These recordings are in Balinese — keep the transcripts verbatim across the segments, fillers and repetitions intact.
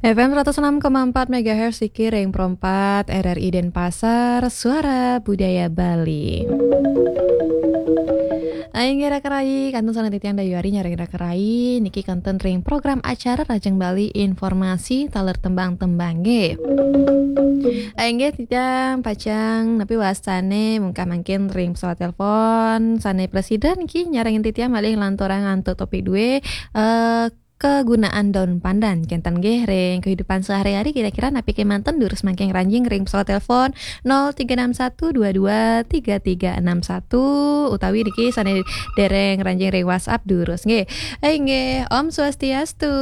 F M seratus enam koma empat megahertz, niki ring Pro empat R R I Denpasar, Suara Budaya Bali. Inggih, rakerai, kantun sareng titiang Dayu Ari nyarengin rakerai, niki kantun ring program acara Rahajeng Bali, informasi taler tembang-tembang, nggih. Inggih, titiang pacang napi wastane mungkah mangkin ring pesawat telepon sane prasida niki nyarengin titiang malih nglanturang antuk topik due, eh, kegunaan daun pandan. Kenten nggih ring kehidupan sehari-hari, kira-kira napi kemanten, durus mangkin ngranjing ring pesawat telepon nol tiga enam satu dua dua tiga tiga enam satu utawi niki sane dereng ngranjing ring WhatsApp durus nggih. Eh, nggih, Om Swastiastu.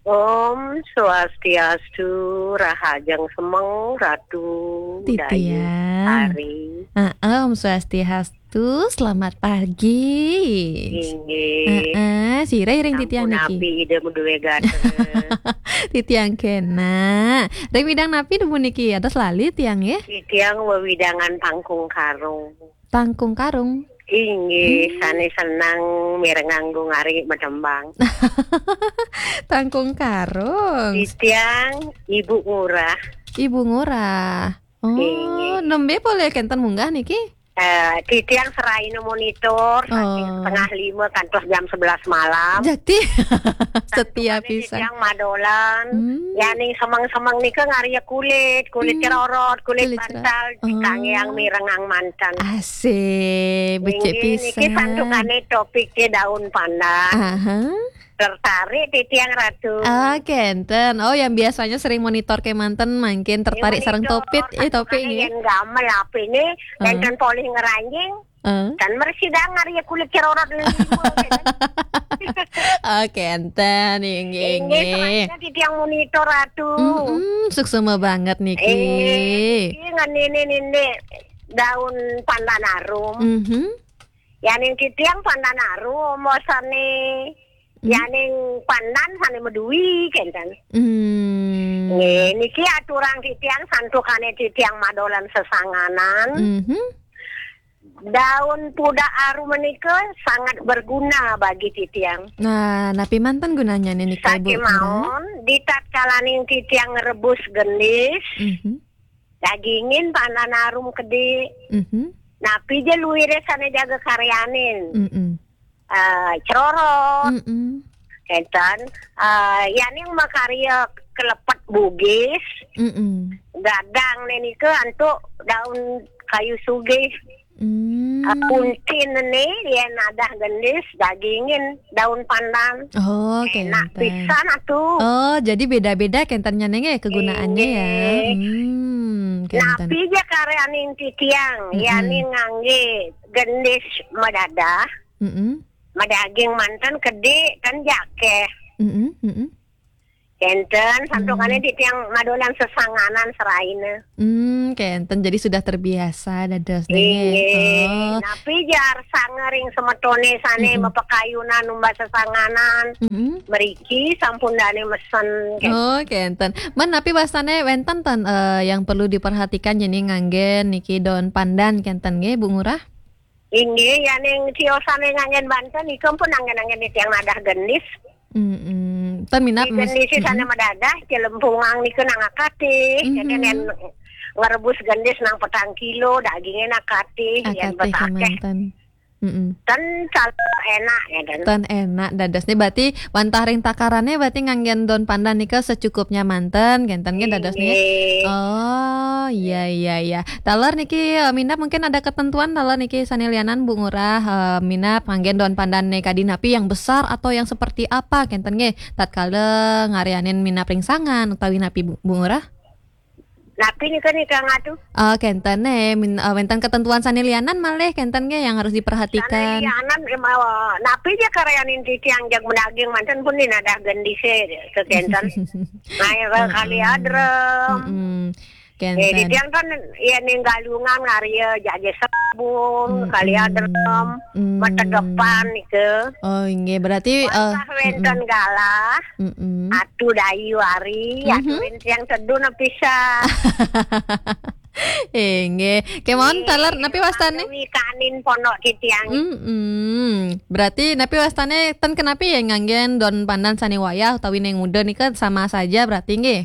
Om Swastiastu, rahajeng semeng Ratu Dayu Titiang. Ari. Heeh, Om Swastiastu, selamat pagi. Inggih. Heeh, sira ring titiang niki. Sampun napi Ida madue gatra. Titiang kena. Ring widang napi dumun niki? Atos lali tiang, nggih. Titiang wewidangan Tangkung Karung. Tangkung Karung. Inggih, hmm, sane seneng mirengang Gung Ari matembang. Tangkung Karung. Titiang Ibu Ngurah. Ibu Ngurah. Oh, inggih. Nembe polih kenten munggah niki? Eh, titiang seraina monitor, saking, oh, setengah lima kantos jam sebelas malam. Jati. Setia santukane pisan. Titiang madolan, hmm, yaning semeng-semeng nika ngarya kulit, kulit, hmm, cerorot, kulit, kulit cerorot, bantal, oh, kangge mirengang manten. Asik, becik, inggih, niki pisan. Santukane topike daun pandan. Aha. Tertarik titiang, Ratu. Ah, kenten. Oh, yang biasanya sering monitor kemanten mangkin tertarik sareng monitor, topik, eh, topik santukane nggih. Yen gamel apine, eh, nenten polih ngranjing, eh, kan mrsidang ngarya kulit cerorot lima, ya kan? Oh, kenten, inggih, inggih, inggih. Selainnya titiang monitor, Ratu. Mm-mm, suksema banget niki. Inggih, niki ngenini nini daun pandan arum. Mhm. Yaning titiang pandan arum, mosane, hmm, yaning pandan sane madui, kenten. Hmm. Nggih, niki aturang titiang santukane titiang madolan sesanganan. Mhm. Daun pudak arum menika sangat berguna bagi titiang. Nah, napi manten gunanya nika, Bu? Sakemaon, di tatkalaning titiang ngrebus gendis, mhm, dagingin pandan arum kedi. Mhm. Napi ja luire sane jaga karyanin. Mm-mm. Eh, cerorot. Mm-mm. Kenten, eh, yaning makarya kelepet Bugis. Mm-mm. Gadang ne nika antuk daun kayu sugih. Hmm. Eh, puntin ne, yen nadah gendis, dagingin daun pandan. Oh, enak kenten. Pisan atuh. Oh, jadi beda-beda kentennya neng, eh, kegunaannya ya. Inggih. Hmm, kenten. Napi ja karyaning titiang, mm-mm, yaning ngangge gendis madadah, mm-mm, madaging manten kedi kan jakeh. Mm-mm, mm-mm. Kenten, santukane, hmm, titiang madolan sesanganan seraina. Hmm, kenten. Jadi sudah terbiasa dados nggih. Inggih. Oh. Napi jar sangering semetone sane, mm-mm, mapakayunan numbas sesanganan. Mm-mm. Mriki sampun dane mesen, kenten. Oh, kenten. Men napi wastane wenten ten, eh, yang perlu diperhatikan jani nganggen niki daun pandan kenten nggih, Bu Ngurah? Inggih, yaning tiosane nganggen banten, nika pun anggen-anggen titiang nadah gendis. Mm-mm. Ten minab. Di gendis sane, mm-mm, madadah, celempungang nika nang akatih. Mhm. Jadi nen ngrebus gendis nang petang kilo, dagingnya nang akatih, yen akatih besakeh. Kemanten. Mm-mm. Ten sal-, enak, ya, ten. Ten enak dadosne, berarti wantah ring takarane berarti nganggen daun pandan nika secukupnya manten, kenten nggih dadosne. Inggih. Oh, iya, iya, iya. Taler niki, eh, minab mungkin ada ketentuan, taler niki sane lianan, Bu Ngurah, eh, minab nganggen daun pandan ne kadi napi, yang besar atau yang seperti apa, kenten nggih, tatkala ngaryanin minab ring sangan utawi napi, Bu, Bu Ngurah? Napi nika, nika ngatu? Eh, kenten ne, min-, eh, wenten ketentuan sane lianan malih kenten nggih yang harus diperhatikan. Sane lianan, em, eh, napi ja karyanin titiang jag madaging manten pun ni nadah gendise kekenten. Nah, ya, kali, heeh, adrem. Mm-mm. Eh, kenten. Di tiang kan, ya, ning Galungan ngarya jaje sabun, mm-mm, kali adrem, mm, mategepan nika. Oh, inggih, berarti, eh, wantah wenten, mm-mm, galah, mm-mm, Atu Dayu Ari, mhm, aturin tiang teduh napisah. Inggih. Kemawon taler napi wastane? Kanin pondok titiang. Mm-mm. Berarti napi wastane ten kenapi ya nganggen daun pandan sane wayah utawi ning muda nika sama saja berarti nggih?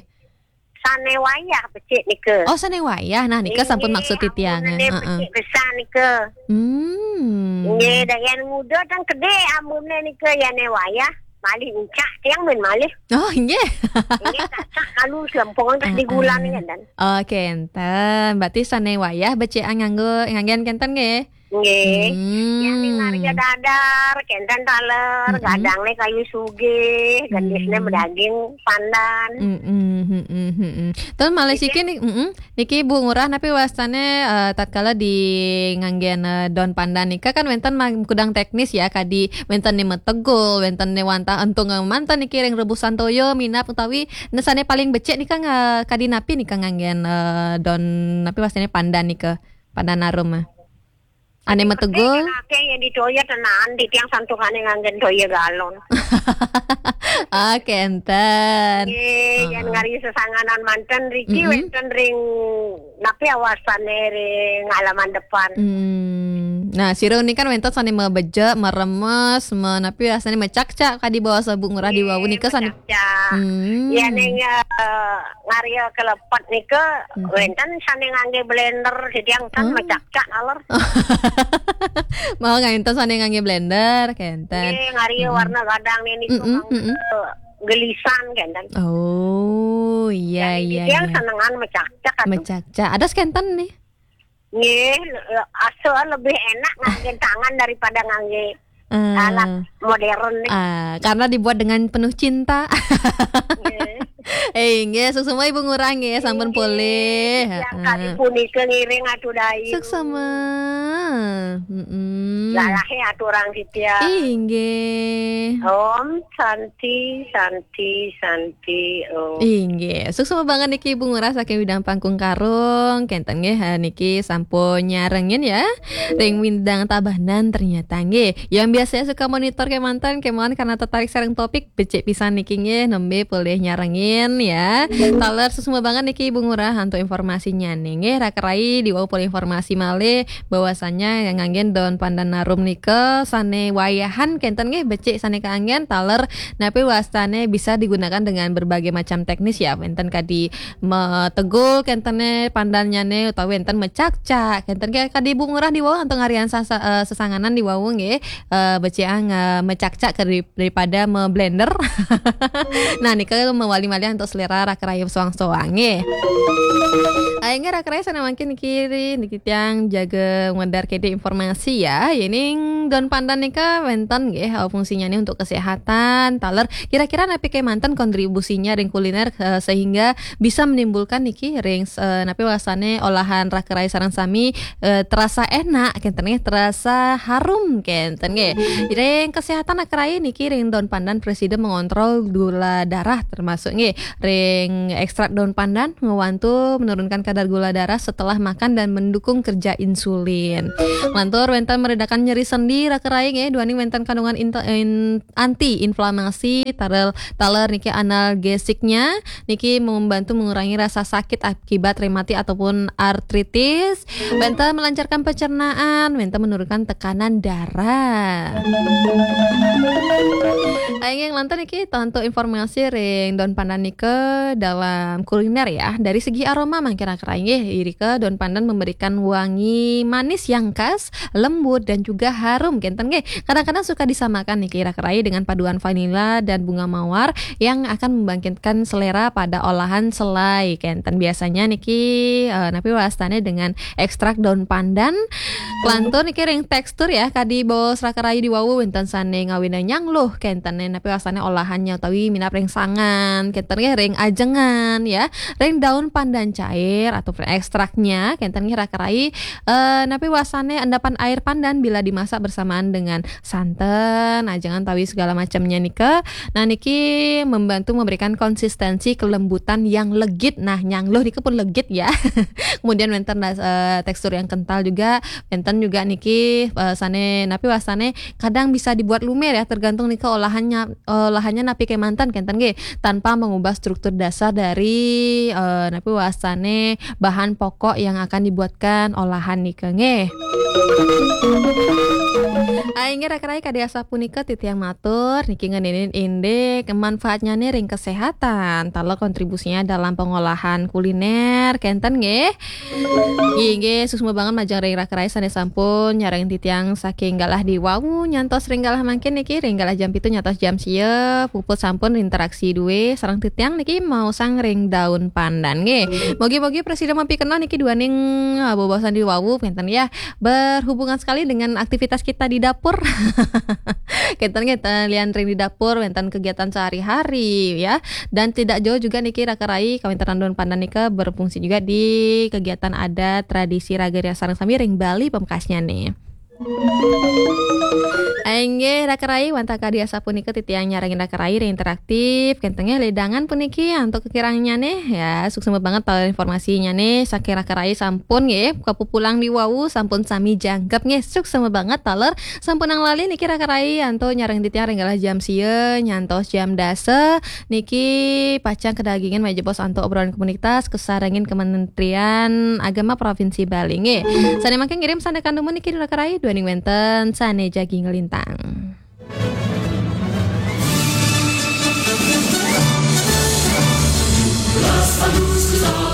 Sane wayah becik nika. Oh, sane wayah. Nah, nika sampun maksud titiang. Nggih, becik pisan nika. Hmm. Nggih, dah yang muda kan gede ambune nika, ya ne wayah. Malih ucak tiang men malih. Oh, nggih. Nggih, tak kalu selempung terus digulang kan dan. Oke, enten. Berarti sane wayah becik nganggo nganggen kenten nggih? Nggih. Hmm. Yang ning ngarya dadar, kenten taler, gadang ne kayu sugih, gendisne medaging pandan. Mm-mm, mm-mm, mm-mm. Terus malih siki nih, mm-mm. Niki Bu Ngurah napi wastane, eh, tatkala di nganggen, eh, daun pandan nika kan wenten ma-, kudang teknis ya, kadi wenten ne metegul, wenten ne wantah entung, eh, manten niki ring rebusan toya minab utawi ne sane paling becik nika nga-, kadi napi nika nganggen, eh, daun napi wastane pandan nika, pandan arum, eh. Ane metegul. Akeh yang ditoya tenan, di tiang santukane nganggen toya galon. Ah, kenten. Nggih, yang ngari sesanganan manten riki wenten ring napi awasane ring halaman depan. Hmm. Nah, sira nika wenten sane mebejek, meremes, me-, napi rasane mecakcak kadi bawasa Bu Ngurah di wau nika sane. Mecakcak. Hmm. Ya ning, eh, ngarya kelepet nika wenten sane ngangge blender, jadi yang kan mecakcak aler. Mau ngantos sane ngangge blender, kenten. Nggih, ngarya warna gadang nih niku mm-mm, mm-mm, gelisan kenten. Oh, iya, iya, iya. Yang senengan mecakcak atuh. Mecakcak. Ada kenten nih. Nggih, le-, asa lebih enak ngangge tangan daripada ngangge alat modern nih. Ah, karena dibuat dengan penuh cinta. Nggih. Eh, nggih, suksma Ibu Ngurah nggih, sampun polih. Yang kali punika ngiring atuh dai. Suksma. Mm-mm. Lalahe aturang titiang. Inggih. Om Santi, Santi, Santi, Om. Inggih. Suksma banget niki Ibu Ngurah saking Widang Pangkung Karung. Kenten nggih, ha, niki sampun nyarengin ya. Ring Widang Tabanan ternyata nggih. Yang biasanya suka monitor kemanten, kemawon karena tertarik sareng topik, becik pisan niki nggih, nembe polih nyarengin ya. Taler suksma banget niki Ibu Ngurah antuk informasinya nih nggih. Raka rai di wau polih informasi malih bahwasanya yang nganggen daun pandan arum nika sane wayahan kenten nggih becik sane kaanggen taler napi wastane bisa digunakan dengan berbagai macam teknis ya. Wenten kadi metegul kentene pandannyane utawi wenten mecakcak. Kenten nggih kadi Ibu Ngurah di wau antuk ngarian sasa-, eh, sesanganan di wau nggih. Eh, becik ang, eh, mecakcak ke dari-, daripada me-blender. Nah, nika mewali malih antuk selera raka rai soang-soang nggih. Ayo nggih raka rai sane mangkin niki, niki tiang jaga ngedar kede informasi ya. Yening daun pandan nika wenten nggih, eh, fungsinya nih untuk kesehatan. Taler kira-kira napi kemanten kontribusinya ring kuliner, eh, sehingga bisa menimbulkan niki ring, eh, napi wastane olahan raka rai sareng sami, eh, terasa enak kenten nggih, terasa harum kenten nggih. Ring kesehatan raka rai niki ring daun pandan presida mengontrol gula darah termasuk nggih ring ekstrak daun pandan ngewantu menurunkan kadar gula darah setelah makan dan mendukung kerja insulin. Lantur wenten meredakan nyeri sendi raka rai nggih, duaning wenten kandungan inte-, in-, anti inflamasi, taler, taler niki analgesiknya niki membantu mengurangi rasa sakit akibat rematik ataupun artritis. Wenten melancarkan pencernaan, wenten menurunkan tekanan darah. Ayo nggih lantur niki antuk informasi ring daun pandan nika dalam kuliner ya. Dari segi aroma mangkin raka rai nggih, irika daun pandan memberikan wangi manis yang khas, lembut dan juga harum kenten nggih. Kadang-kadang suka disamakan niki raka rai dengan paduan vanila dan bunga mawar yang akan membangkitkan selera pada olahan selai kenten. Biasanya niki, eh, napi wastane dengan ekstrak daun pandan. Lantur niki ring tekstur ya, kadi bos raka rai di wau wenten sane ngawina nyangluh kenten napi wastane olahannya utawi minab ring sangan, kenten nggih ring ajengan ya. Ring daun pandan cair atau ekstraknya kenten nggih raka rai, eh, napi wastane endapan air pandan bila dimasak bersamaan dengan santen, ajengan tawi segala macamnya nika. Nah, niki membantu memberikan konsistensi kelembutan yang legit. Nah, nyangluh nika pun legit ya. Kemudian wenten ras-, eh, tekstur yang kental juga. Wenten juga niki, eh, sane napi wastane kadang bisa dibuat lumer ya, tergantung nika olahannya. eh, lahannya napi kemanten kenten nggih, tanpa mengubah struktur dasar dari, eh, napi wastane bahan pokok yang akan dibuatkan olahan nika nggih. Inggih raka rai kadi asapunika titiang matur niki ngeninin indik manfaatnya nih ring kesehatan, taler kontribusinya dalam pengolahan kuliner kenten nggih. Inggih, suksma banget majeng ring raka rai sane sampun nyarengin titiang saking galah diwawu nyantos ring galah mangkin niki, ring galah jam pitu nyantos jam sia, puput sampun interaksi duwe sareng titiang niki maosang ring daun pandan nggih. Mogi-mogi prasida mapikenoh niki duaning, ah, bebaosan diwawu kenten ya. Berhubungan sekali dengan aktivitas kita di dapur. Kenten nggih, lian ring di dapur wenten kegiatan sehari-hari ya. Dan tidak jauh juga niki raka rai kawentenan daun pandan nika berfungsi juga di kegiatan adat tradisi raga ria sareng sami ring Bali pamekasnya nih. Inggih raka rai wantah kadi asapunika titiang nyarengin raka rai ring interaktif kenten nggih ledangan puniki antuk kekirangannya nih ya, suksma banget taler informasinya nih saking raka rai sampun nggih kapupulang diwawu sampun sami jangkep nggih, suksma banget taler sampunang lali niki raka rai antuk nyarengin titiang ring galah jam sia nyantos jam dasa. Niki pacang kedagingan malih jebos antuk obrolan komunitas kasarengin Kementerian Agama Provinsi Bali nggih. Sane mangkin ngirim sandang dumun niki raka rai duaning wenten sane jagi nglintang.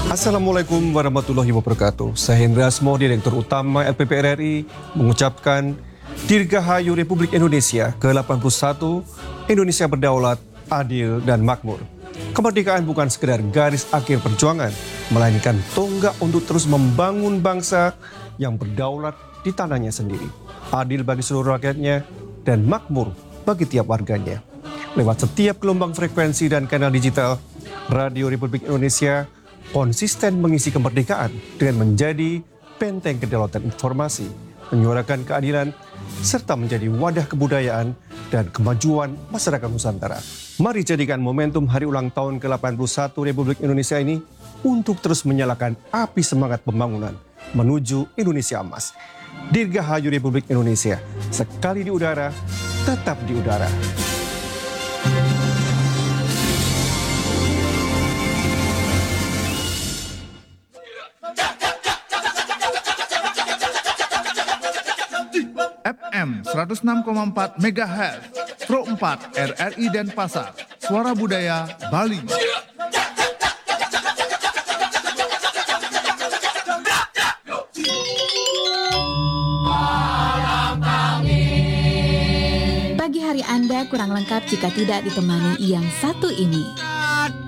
Assalamualaikum warahmatullahi wabarakatuh. Saya Hendra Asmo, Direktur Utama L P P R R I, mengucapkan Dirgahayu Republik Indonesia ke delapan puluh satu, Indonesia berdaulat, adil, dan makmur. Kemerdekaan bukan sekedar garis akhir perjuangan, melainkan tonggak untuk terus membangun bangsa yang berdaulat di tanahnya sendiri, adil bagi seluruh rakyatnya, dan makmur bagi tiap warganya. Lewat setiap gelombang frekuensi dan kanal digital, Radio Republik Indonesia konsisten mengisi kemerdekaan dengan menjadi benteng kedaulatan informasi, menyuarakan keadilan, serta menjadi wadah kebudayaan dan kemajuan masyarakat Nusantara. Mari jadikan momentum hari ulang tahun ke delapan puluh satu Republik Indonesia ini untuk terus menyalakan api semangat pembangunan menuju Indonesia Emas. Dirgahayu Republik Indonesia, sekali di udara, tetap di udara. F M seratus enam koma empat megahertz, Pro empat R R I Denpasar, Suara Budaya Bali. Pagi hari Anda kurang lengkap jika tidak ditemani yang satu ini.